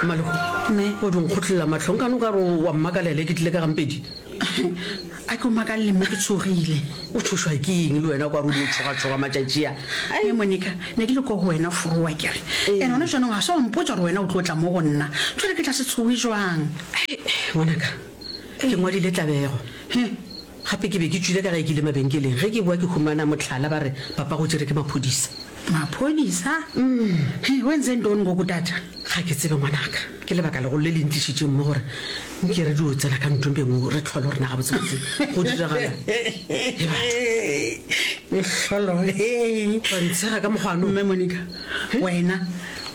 Mmalego, Mme. o di nkgotlelela matlho nkane o ka re wa mmakalele ke tlile ka gampedi. A ke o makalele mme ke tshogile. O tšhošwa ke eng le wena o ka re o dio tšhogatšhoga matšatši a? Mme Monica, ne ke le ko go wena forowa ke re, ene gona jaanong ga se wa mpotša gore wena o tlo tla mo go nna, jwale ke tla se tshoge jwang? Ngwanaka, ke ngwadile tlabego. Gape ke be ke tšwile ka gae ke ile mabenkeleng. Ge ke boa ke humana mohlala ba re papa go tšere ke maphodisa. Maphodisa? He, wenze ntoni ngoku tata? Ga ke tsebe ngwanaka. Ke lebaka legolo le le ntlišitšeng mo gore nke re dio tsena ka ntlong bengwe re hlole gore na gabotsebotse go diragala. He batho. Mehlolo he. Ba ntshega ka mokgwa no. Mme Monica, wena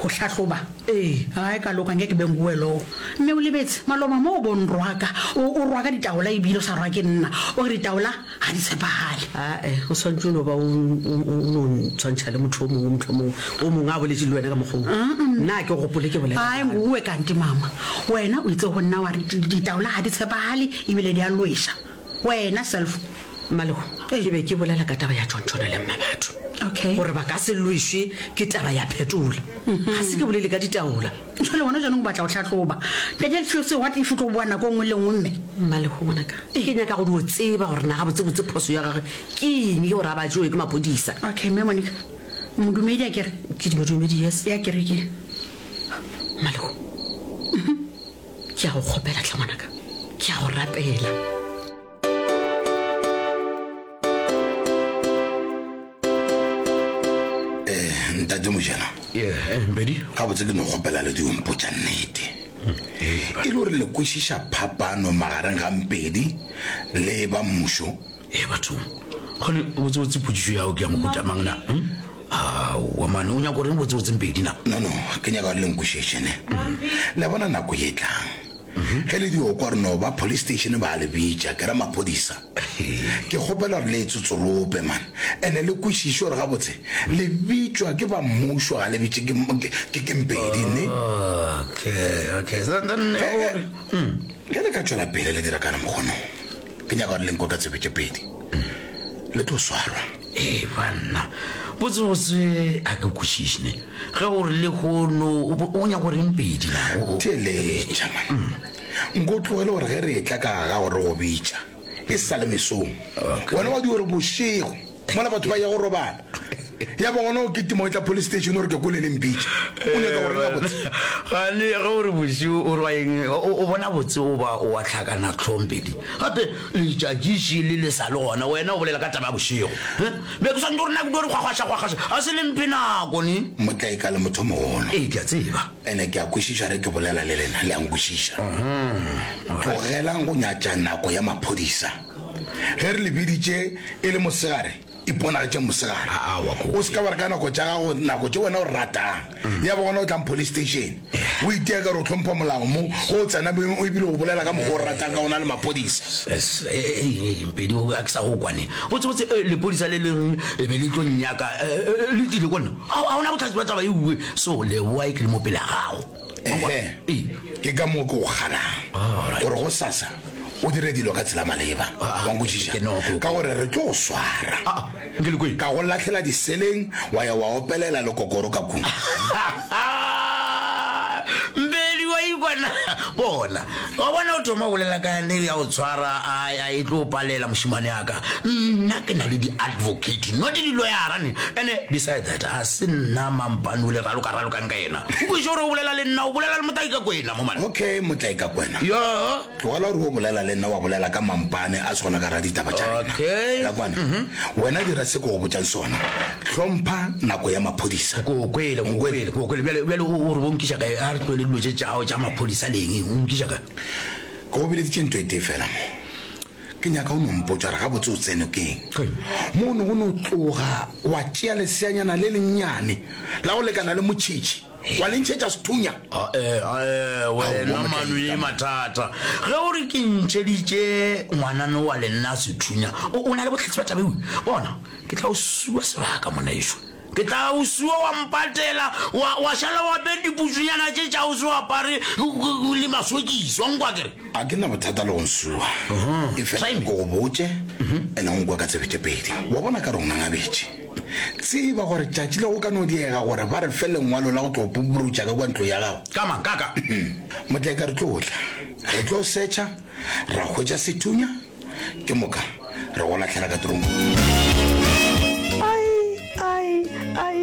go hlahloba? Ee. Hai kaloku angeke be nguwe lowo. Mme o lebetse, maloba mo o bo nrwaka, o, o rwaka ditaola ebile o sa rwake nna. O re ditaola ga di tshepagale. Ae, o swanetše o no ba o, o, o no ntshwantšha le motho o mongwe, mohlomongwe o mongwe a boletše le wena ka mokgwa wo. Nna ga ke gopole ke bolela Hai bjalo. nguwe kanti mama. Wena o itse go nna wa re ditaola ga di tshepagale ebile di a lweša. Wena self. Mmalego, ke be ke bolela ka taba ya Tšontšhono le Mmabatho. Okay. Gore ba ka se lwešwe ke taba ya phetola. Ga se ke bolele ka ditaola. Jwale gona jaanong o batla go hlahloba. Ntate Fuse, what if o tlo boa nako e nngwe le nngwe mme? Mmalego, ngwanaka, ke nyaka go dio tseba gore na gabotsebotse phoso ya gagwe ke eng gore a ba tšewe ke maphodisa. Okay, mme Monica, modumedi a kere? Ke modumedi, yes. Ya kerekeng. Mmalego, ke a go kgopela tlhe ngwanaka, ke a go rapela. Eh, ntate mojana eh, mpedi gabotse ke no kgopela le dio mpotša nnete e le gore le kwešiša phapano magareng ga mpedi le ba mmušo e bathong gone botsebotse potšišo yago ke ya mohuta mang na hmm? aowa mane o nyaka goreng botsebotse mpedi na no no ke nyaka gore le nkwešiše ne le bona nako ye tlang Ge le dio kwa re no ba police station ba le bitša, ke ra maphodisa. Ke kgopela gore le e tsotsorope man. Ene le kwešiše gore gabotse le bitšwa ke ba mmušo ga le bitše ke ke ke Mpedi ne. Okay, okay. Then, then, Ge, ge, ge le ka tšwela pele le dira ka mokgono, ke nyaka gore le nkwe ka tsebe tše pedi. Le tlo swarwa. Ee banna, botsebotse a ke kwešiše ne. Ge o re lehono o nyaka go reng pedi na? O- Theeletša man. Nko tlogele gore ge re etla ka ga gago re go bitša e sa le mesong. Wena wa di gore bošego mola batho ba ya go robala. Ya ba gona o kitima o etla police station o re ke kwele le mpitša. O nyaka go reng gabotse? Gane ge o re bošego o ra eng? O bona botse o ba o a hlakana hlong pedi. Gape letšatši šele le sa le gona, wena o bolela ka taba ya bošego. He? Be ke swanetše gore nna ke dio re kgwakgwaša-kgwakgwaša, ga se le mphe nako ne? Motlaika le motho mogolo. Ee, ke a tseba. Ene ke a kwešiša ge ke bolela le lena, le a nkwešiša. Tlogelang go nyatša nako ya maphodisa. Ge re le biditše e le mosegare, Iponagatše mosegare. Aowa, ko. O se ka wa re ka nako tša gago, nako tše wena o ratang. Ya ba gona o tlang police station. O itia ka re o hlompha molao mo, ge o tsena mo ebile o bolela ka mokgwa o ratang ka gona le maphodisa. Es, e, e, e, Mpedi, o, a ke sa go kwane. Botsebotse, e, lepodisa le leng e be le tlo nnyaka, e, e, le tlile ko nna. A, a ona bohlatse bja taba ye uwe. So, leboa e ke le mo pele ga gago. Ehe, ke ka moo ke go kgalang gore gosasa o dire dilo ka tsela maleba. Wa nkwešiša? Ka gore re tlo go swara, ka go lahlela diseleng, wa ya wa opelela lekokoro ka kua. Mbedi wa ikwa na? Bona, wa bona o thoma go bolela ka ne ya go tshwara, a, a e tlo palela mošemane ya ka. Nna ke na le di-advocate, not di-lawyera ne. Ene beside that, a se nna mampane o le raloka-ralokang ka yena. O kwešiše gore o bolela le nna, o bolela le Motlaikakwena mo man. Okay, Motlaikakwena. Ya. Tlogela gore o bolela le nna wa bolela ka mampane a se gona ka ra ditaba tša rena. Okay. La kwana. Wena dira se ke go botšang sona. Hlompha nako ya maphodisa. Ke o kwele, ke o kwele, ke o kwele. Bjale, bjale o, o re bo nkiša kae? A re tlohele dilo tše tša gago tša maphodisa le eng? O nkiša kae? Ke go bileditše ntho e tee fela mo. Ke nyaka o no mpotša gore gabotse o tsenwe ke eng. Mo o ne o no tloga wa tšea leseanyana le lennyane la go lekana le motšhitšhi wa le ntšhetša sethunya. Ae, ae, wena mano ye mathata. Ge o re ke ntšheditše ngwanano wa lenna sethunya, o, o na le bohlatse bja taba ewe? Bona, ke tla o sua sebaka, monaešo. Ke tla o sua wa mpatela, wa, wa šala o apere diputsunyana tše tša o se o apare le masokisi. Wa nkwa ke re? A ke na bothata le go nsua. Efela ke go botše, ene o nkwe ka tsebe tše pedi. Wa bona ka re o ngangabetše. Tseba gore tšatši le go ka no diega gore ba re fe lengwalo la go tlo pupurutša ka kua ntlo ya gago. Ka mang? Ka ka? Motlaeka re tlo tla. Re tlo setšha, ra hwetša sethunya, ke moka re go lahlela ka tronkong. Ai, ai, ai,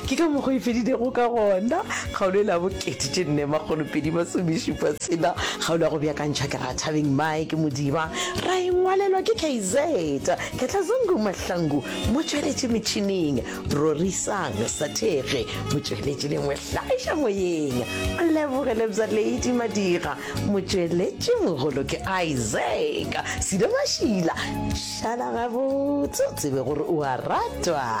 ke ka mokgwa e fedilego ka gona kgaolo e la bokete tše nne makgolopedi masomešupa tshela kgaolo ya go beakantšha ke Rathabeng Mike Modiba ra e ngwalelwa ke KZ Ketla Zungu Mahlangu motšweletši metšhineng Rorisang Sathege motšweletši le mohlagiša moyeng Leboge Lebza Lady Madira Motšweletši mogolo ke Isaac Sido Mašila. Šala gabotse o tsebe gore o a ratwa.